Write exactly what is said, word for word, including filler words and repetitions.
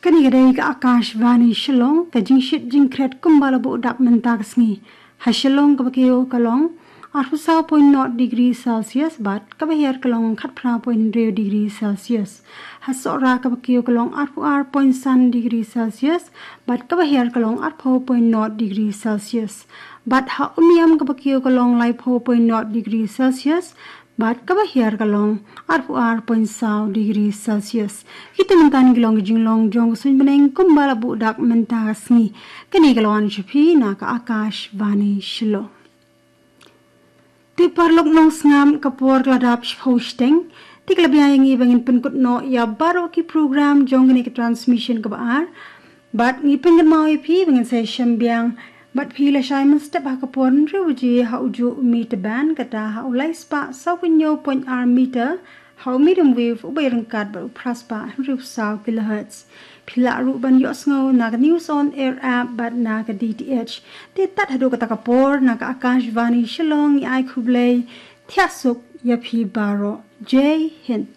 Kane ka dei ka Akashvani Shillong, ka jingshit jingkhret kumba la buh dak mynta ka sngi. Ha Shillong kaba kiew ka long arphew saw point nought degree Celsius bad kaba hiar ka long khatphra point hynriew degree Celsius. Ha Sohra kaba kiew ka long arphew ar point san degree Celsius bad kaba hiar ka long arphew point nought degree Celsius. Bad ha Umiam kaba kiew ka long laiphew point nought degree Celsius bad kaba hiar ka long arphew ar point saw degree Celsius. Kita mynta ki long ki jinglong jong ka suiñ bneng kumba la buh dak mynta ka sngi. Kane ka la wan sha phi na ka Akashvani Shillong. Te paralok nongsngap, ka por ka la dap shiphew shiteng. Te ka la biang ïa ngi ba ngin pynkut noh ïa baroh ki program jong kane ka transmission kaba ar. Bad ngi pynkynmaw ïa phi ba ngin sa shem biang bad phi lashai mynstep ha ka por hynriew baje ha u juh u meter band, kata ha u lai spah saw phew hynñiew point ar meter, ha u medium wave uba ïaryngkat bad u phra spah hynriew saw kilohertz. Phi lah ruh ban ïohsngew na ka News on Air app bad na ka D T H. Te tad haduh kata ka por, na ka Akashvani Shillong ngi ai khublei, thiah suk ïa phi baroh. Jai Hind.